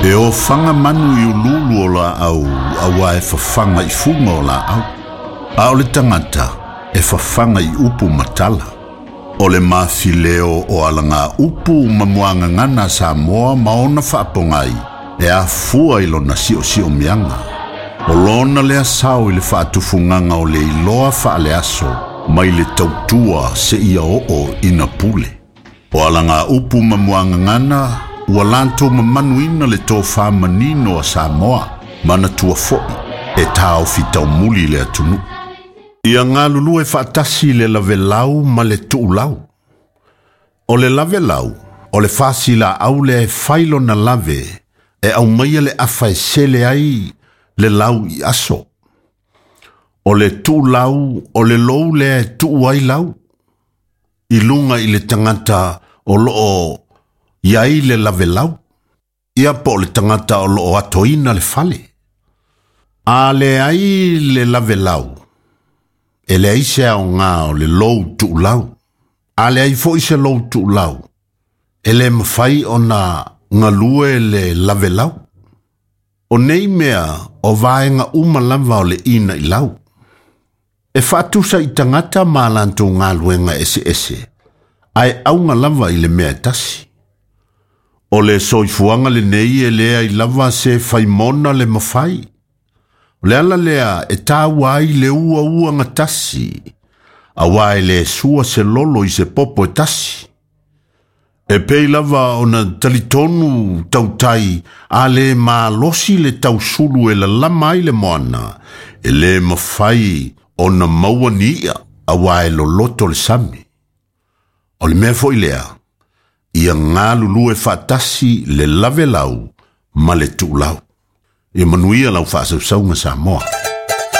E ofaga manu i uluulu o laau auā e fafaga i fuga o laau. A o le tagata e fafaga i upu ma tala. O le mafileo o alagaupu ma muagagana a Samoa ma ona faapogai e afua i lona siosiomiaga. O lona lea sao i le faatufugaga o le iloa faaleaso mai le tautua seia oo ina pule. O alagaupu ma muagagana ua latou mamanuina le tofa manino a Samoa, manatua foi e taofi taumuli le atunuu. Ia galulue faatasi le lavelau ma le tuulau. O le lavelau, o le fasilaau lea e fai lona lave e aumaia le afa e sele ai le lau i aso. O le tuulau, o le lou lea e tuu ai lau i luga i le tagata o loo i ai le lavelau, ia po o le tagata o loo atoina le fale. A leai le lavelau, e leai se aoga o le lou tuulau. A leai foi se lou tuulau, e le mafai ona galue le lavelau. O nei mea o vaega uma lava o le inailau. E faatusa i tagata ma latou galuega eseese, ae auga lava i le mea e tasi. O le soifuaga lenei e leai lava se faimona le mafai. O le ala lea e taua ai le uauagatasi, auā e le sua se lolo i se popo e tasi. E pei lava ona talitonu tautai a le malosi le tausulu e lalama ai le moana, e le mafai ona maua ni i'a auā e loloto le sami. O le mea foi lea, ia galulue faatasi le lavelau ma le tuulau. Ia manuia lau faasausauga Samoa.